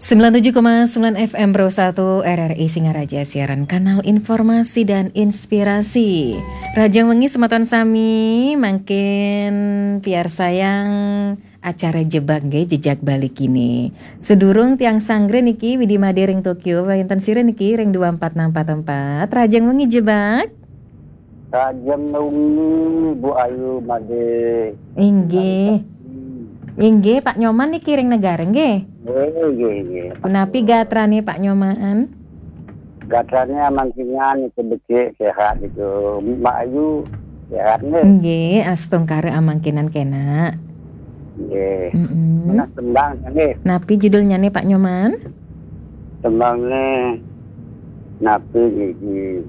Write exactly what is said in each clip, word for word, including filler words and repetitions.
Sembilan tujuh koma sembilan F M Pro satu R R I Singaraja, siaran kanal informasi dan inspirasi. Rahajeng wengi semeton sami, mangkin piarsayang acara Jebak nggih, Jejak Bali Kini. Sedurung tiang sanggra niki Widi Made ring Tokyo, wénten sira niki ring dua empat enam empat empat. Rahajeng wengi Jebak. Rahajeng wengi, Bu Ayu Made. Inggih. Inggih, Pak Nyoman niki ring Negara nggih. Nggih, nggih, nggih. Punapi gatrane Pak Nyoman? Gatrane amangkinan niku becik, sehat niku. Mbak Ayu sehat nggih? Nggih, astungkara amangkinan kenak. Nggih. Mm-mm. Menawi tembang nggih. Napi judulnyane Pak Nyoman? Tembangne napi niki?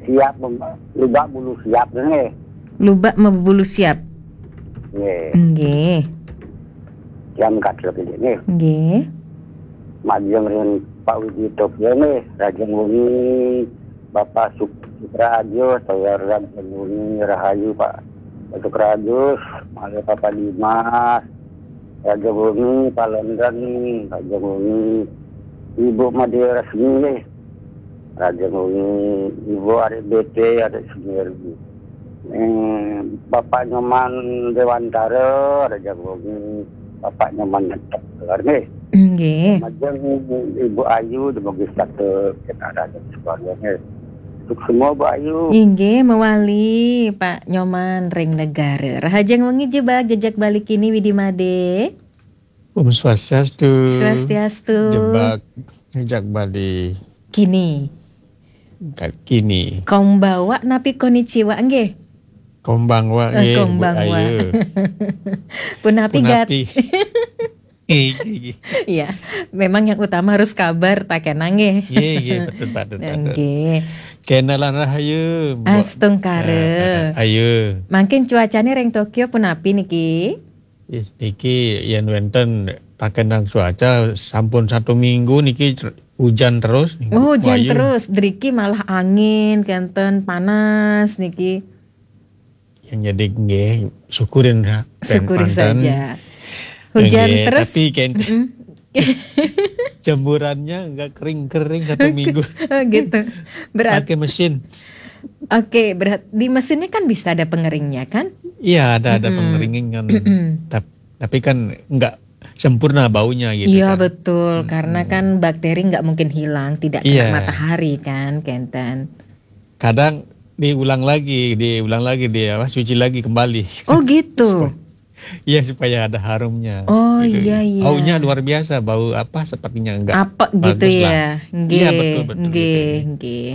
Siap mem-, lubak bulu siap nggih. Lubak mebulu siap. Nggih. Nggih. Jam kadro nggih. Nggih. Majeng ring Pak Widi Tokyo nggih, rahajeng wengi Bapak Suk-, Sukrajo, saya rahajeng wengi rahayu Pak Sukrajo, malih Bapak Dimas, rahajeng wengi Pak London, rahajeng wengi Ibu Made Resmi nggih, rahajeng wengi Ibu Arik B T, Arik Semeru. Eh, Bapak Nyoman Dewantara, rahajeng wengi Bapak Nyoman Ngetok, nggih. Nggih. Majeng Ibu Ayu, dumugi setata kita rahajeng semuanya nggih. Suksma Bu Ayu. Inggih, mewali Pak Nyoman ring Negara. Rahajeng wengi Jebak, Jejak Bali Kini Widi Made. Om Swastiastu. Swastiastu. Jebak, Jejak Bali Kini. Ka-, Kini. Konbanwa napi konnichiwa nggih? Konbanwa. Eh, nggih, Bu konbanwa. Ayu. Punapi gat-, punapi? Nggih, nggih, nggih. Iya, memang yang utama harus kabar, tak kena nggih. Nggih, nggih, betul, betul, betul. Nggih. Kenalan rahayu, Mbok. Astungkara. Eh, eh, ayu. Mangkin cuacane ring Tokyo punapi niki? Yes, niki yen wenten pakenang cuaca sampun satu minggu niki cer-, hujan terus. Oh, hujan terus. Driki malah angin, kenten panas niki. Yang jadi nggih, syukurin ha-, pen-, syukuri panten. Saja. Hujan nggih, terus. Tapi kenten, mm-mm. Jemburannya nggak kering-kering satu minggu. Oh, gitu. Berat-, pakai mesin. Oke, berat-, di mesinnya kan bisa ada pengeringnya kan? Iya, ada, ada, mm-mm, pengeringnya kan. Mm-mm. Tap-, tapi kan nggak sempurna baunya gitu. Iya, kan. Betul, mm-mm, karena kan bakteri nggak mungkin hilang, tidak kena, iya, matahari kan, kenten. Kadang diulang lagi, diulang lagi, di apa, cuci lagi kembali. Oh, gitu. Supaya, iya, supaya ada harumnya. Oh, gitu. Iya, iya. Baunya luar biasa, bau apa sepertinya enggak bagus gitu lah. Apa ya? Nggih, iya, betul, betul, nggih, gitu. Nggih.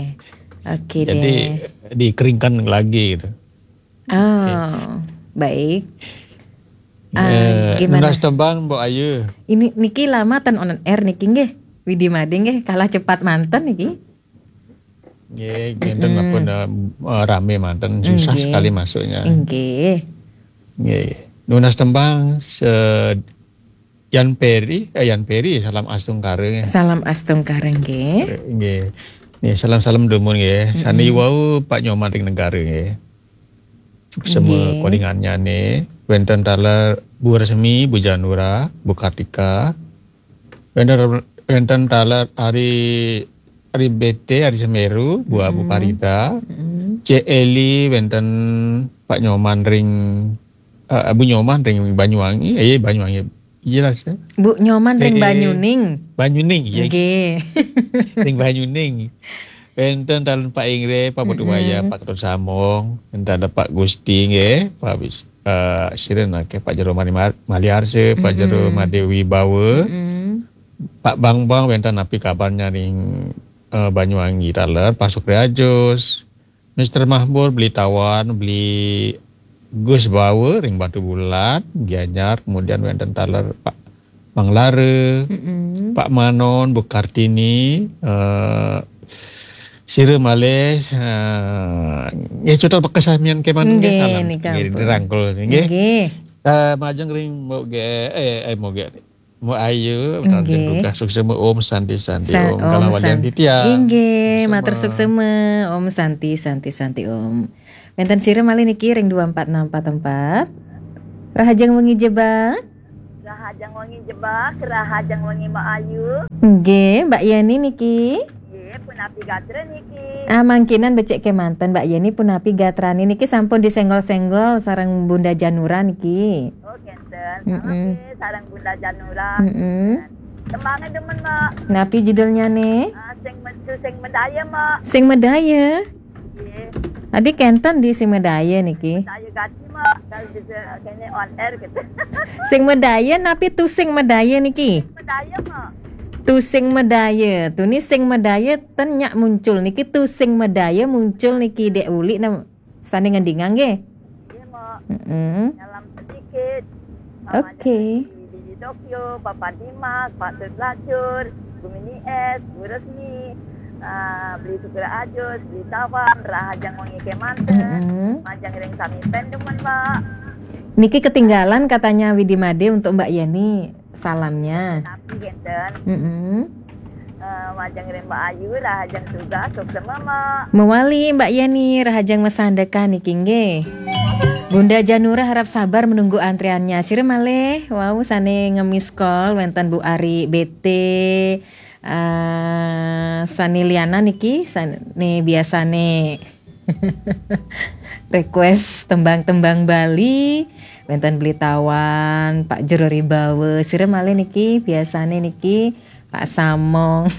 Oke. Jadi, deh, dikeringkan lagi gitu. Oh, oke, baik. Ah, eh, gimana? Nunas tembang, Mbok Ayu. Ini niki lama ten on air niki nggih. Widi Made nggih, kalah cepat manten niki. Nggih, ngenten, mm-mm, ampun, eh, eh, rame manten, susah, nggih, sekali masuknya. Nggih. Nggih. Nunas tembang se-, Yan Peri, eh, Yan Peri, salam astungkara nggih. Salam astungkara nggih. Nggih. Nggih, salam-salam dumun nggih. Mm-mm. Sane wau Pak Nyoman ring Negara nggih. Suksema, nggih, kolingannyane. Wenten taler Bu Resmi, Bu Janura, Bu Kartika. Wenten, wenten taler Ari, Ari B T, Ari Semeru, Bu Abu, mm-mm, Farida. Mm-mm. Cek Eli, wenten Pak Nyoman ring, eh, Bu Nyoman ring Banyuwangi, eh, Banyuwangi. Jelas ya. Bu Nyoman ring, eh, Banyuning. Banyuning, ya. Nggih. Ring Banyuning. Wenten taler Pak Ingre, Pak Putu, mm-mm, Waya, Pak Ketut Samong, wenten taler Pak Gusti nggih, Pak Wis-, eh, sira nake Pak Jero Mani Mar-, Maliarse, Pak Jero, mm-mm, Made Wibawa. Mm-mm. Pak Bambang, wenten napi kabarnya ring, eh, Banyuwangi taler, Pak Sukri Ajus, Mister Mahmur, Beli Tawan, Beli Gus Bawa ring Batubulan, Gianyar, kemudian wenten taler Pak Manglara, mm-mm, Pak Manon, Bu Kartini, eh, sira malih, eh, nggih, cutet bekas samian kemanten nggih, nggih, salam. Nika nggih, ampun. Dirangkul nggih. Nggih. Eh, majeng ring Mbok Ge-, eh, eh, Mbok Ge-, Mbok Ayu, nggih, tugas suksema, Om Santi Santi, sa-, Om, Om kalawan San-, titiang. Inggih, suksema. Matur suksema, Om Santi Santi Santi Om. Wenten sira malih niki ring dua empat enam empat empat. Rahajeng wengi Jebak. Rahajeng wengi Jebak, rahajeng wengi Mbok Ayu. Nggih, Mbak Yeni niki. Nggih, punapi gatra niki? Ah, mangkinan becik kemanten, Mbak Yeni, punapi gatrane niki sampun disenggol-senggol sareng Bunda Janura niki. Oh, ngenten. Mm-mm. Nggih, sareng Bunda Janura. Mm-mm. Tembange demen, Mbak. Napi judulnya nih? Ah, sing metu sing medaya, Mbak. Sing Medaya. Nggih. Adi kenten di Sing Medaya niki. Saya gati, Mbak. Kalau bisa kene on air gitu. Sing Medaya napi Tu Sing Medaya niki? Medaya, Mbak. Tu Sing Medaya. Tuni Sing Medaya ten nyak muncul niki, Tu Sing Medaya muncul niki, Dek Uli na sane ngendingang nggih. Iya, Mbak. Mm-mm. Dalam sedikit. Oke. Di, di Tokyo, Papa Dimas, Pak Tut Lacur, Bu Mini Es, Bu Resmi, ah, Beli Sukra Ajus, Beli Tawan, Rahajeng Wengi Kemanten, Mm-mm. Majeng Ring Sami Pendemen, Mbak. Niki ketinggalan katanya Widi Made untuk Mbak Yeni salamnya. Tapi ngenten, Mm-mm. eh, Majeng Ring Mbak Ayu, Rahajeng Tugas, Sukses Mama. Mewali Mbak Yeni, Rahajeng Mesandeka niki nggih. Bunda Janura harap sabar menunggu antriannya. Sira malih wau sane nge-miss call wenten Bu Ari B T, eh, sane liana niki, sane biasane request tembang-tembang Bali, wenten Beli Tawan, Pak Jero Ribawa. Sira malih niki biasane niki Pak Samong,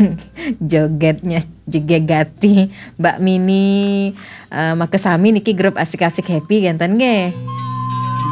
jogetnya juga gati, Mbak Mini, eh, makasami niki grup asik-asik happy ngenten nggih.